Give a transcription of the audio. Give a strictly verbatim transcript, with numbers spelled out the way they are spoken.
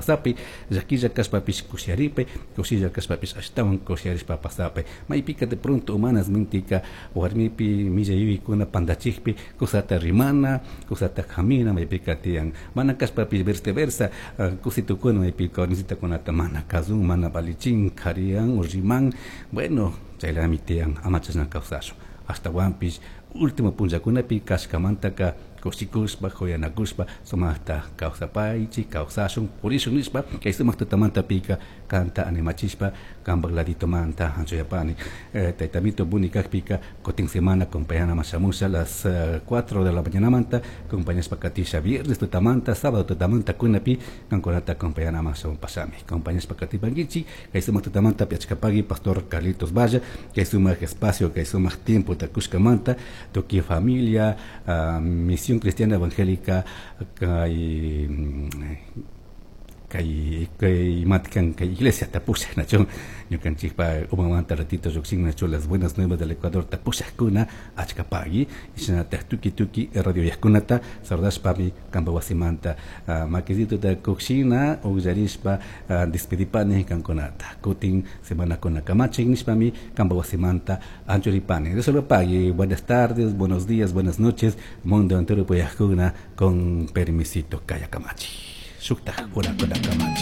Pasapi, llaquilla kashpapish kushiyaripay, kushilla kashpapish ashtawan kushiyarishpa pasapay. Maypika de pronto humanas mentika warmipi millay yuyaykuna pantachikpi kusata rimana, kusata hamina maypika tiyan. Mana kashpapish viceversa, kusitukuna maypika warmisitakunata mana kazun, mana valichin, kariyan o riman. Bueno, chaylami tiyan, ama chashna kawsashun. Ashtawanpish último punllakunapi kashkamantaka kushikushpa, kuyanakushpa, sumaqta kawsapaychik, kawsashun, purishun nishpa, kay sumaq tutamantapika kanta animachishpa, kanpak laditomanta anchuyapani. Eh, taytamito buni kakpika, kutin semana acompañana shamusha las uh, cuatro de la mañana acompañashpa katisha viernes tutamanta, sábado tutamanta kunapi, kankunata acompañana shamun pasami. Acompañashpa katipankichik, kay sumaq tutamanta piachkapagui Pastor Carlitos Valla, kay sumaq espacio, kay sumaq tiempo takushkamanta, tukuy familia, uh, Misión Cristiana Evangélica, kay kay kay matkan kay iglesia tapushak nachun ñukanchikpa umamanta ratito llukshin nachu Las Buenas Nuevas del Ecuador tapushakuna achkapagui shinatak tuki tuki radio yajkunata saludashpami kampa wasimanta uh, makisituta kukshina ukllarishpa uh, despedipani kankunata kutin semana kuna kamachin nishpami kampa wasimanta anchuripani. Dios lo pague. Buenas tardes, buenos días, buenas noches, mundo entero puyajkuna, con permisito, kaya kamachi shuktaj urakuna kamachi.